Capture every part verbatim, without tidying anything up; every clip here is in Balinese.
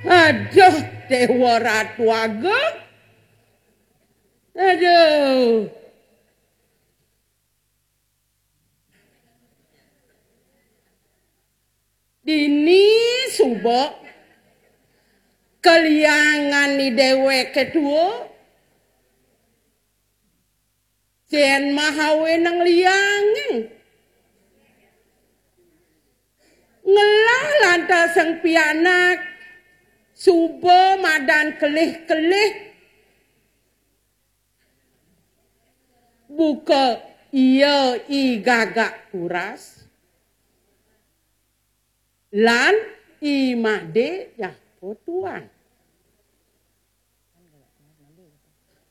Aduh, Dewa Ratu Agung. Aduh. Dini suba kaliangan ni déwéké tua. Cén mahawé nang liangé. Ngelah lantas sang pianak suba madan kelih-kelih. Buka ia I Gagak Kuras lan I Madé Japa Tuan.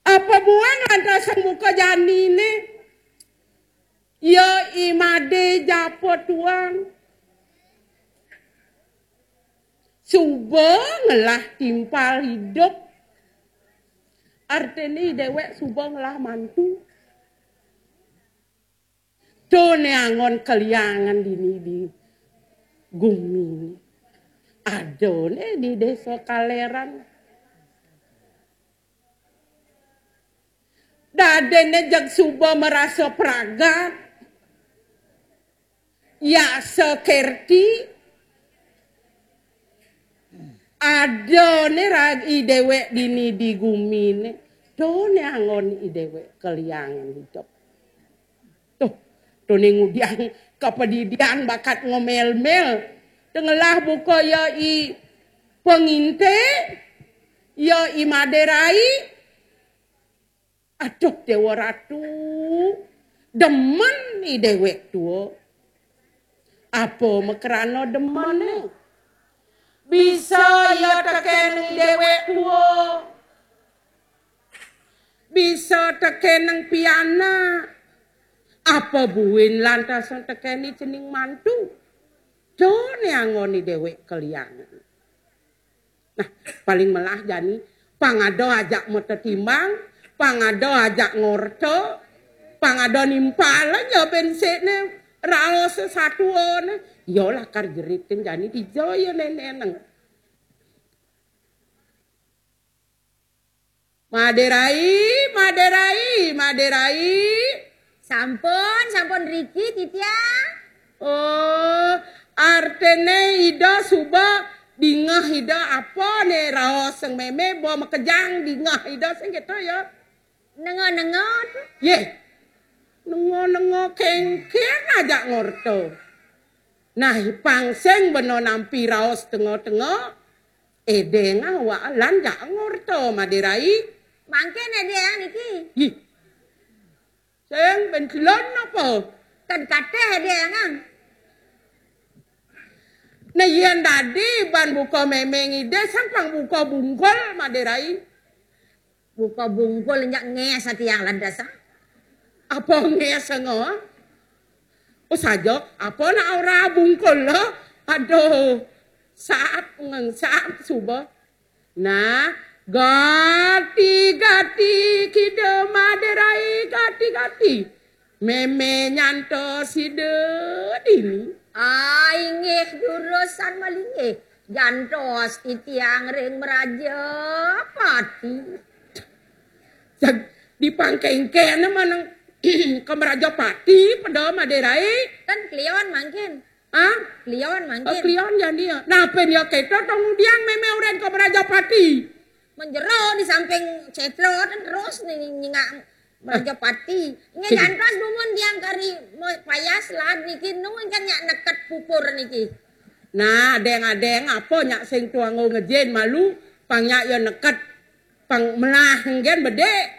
Apa buin lantas sang buka janiné? Ia I Madé Japa Tuan. Suba ngelah timpal idup. Artiné déwék suba ngelah mantu. Tuné anggon kaliangan dini di gumi. Adané di Désa Kaléran. Dadiné jeg suba marasa pragat. Yasa kerti. Adané rag I déwék dini di guminé. Tuné anggon I déwék kaliangan idup. Tuh, tuné ngudiang kapadidian bakat ngomel-mel. Tengelah buka ia I Panginté, ia I Madé Rai. Aduh, Déwa Ratu, demen I déwék tua. Apa makrana demené? Bisa ia tekén I déwék tua. Bisa tekén pianak. Apa buin lantas tekén cening mantu? Tuné anggon I déwék kaliangan. Nah, paling melah jani, pang ada ajak matetimbang, pang ada ajak ngorta, pang ada nimpal aja bensekné raos satuané. Ya lakar jerit kén jani dija ya nénénang. Madé Rai, Madé Rai, Madé Rai. Sampun, sampun riki, titiang. Oh, artiné Ida suba dingeh Ida apa né raos sing mémé ba makejang dingeh Ida sing kéto ya. Nenga-nenga tu. Yéh. Nenga-nenga kéngkén ajak ngorta. Nah, pang sing bena nampi raos tenga-tenga, édéng awak lan jak ngorta Madé Rai. Mangkin édéng niki. Yih. Sing ben telon apa? Kan kateh édéng ang. Nah, yén dadi ban buka mémé ngidih, sang pang buka bungkul Madé Rai. Buka bungkul nyak ngés atiang lantas, ah. Apa ngés ngo? Oh, saja, apa nak ora bungkul lo? Aduh, saat ngeng, saat suba. Nah, gati-gati kida Madé Rai gati-gati. Mémé nyantos sida dini. Ah, inggih jurusan malinggih. Jantos titiang ring Mraja Pati. Jag, di pangkéngkéné manang ka Mraja Pati, pada Madé Rai. Kan klion mangkin. Hah? Klion mangkin. Oh, klion jani ya. Nah, pén ya kéto to ngudiang mémé orang ka Mraja Pati. Menjero di samping cetro kan terus nih nyingak Mraja Pati. Nggih, jantos dumun tiang kari payas lad niki nu kan nyak neket pupur niki. Nah, adéng-adéng apa nyak sing tuang ngején malu, pang nyak ya neket. Pang melah nggen bedé.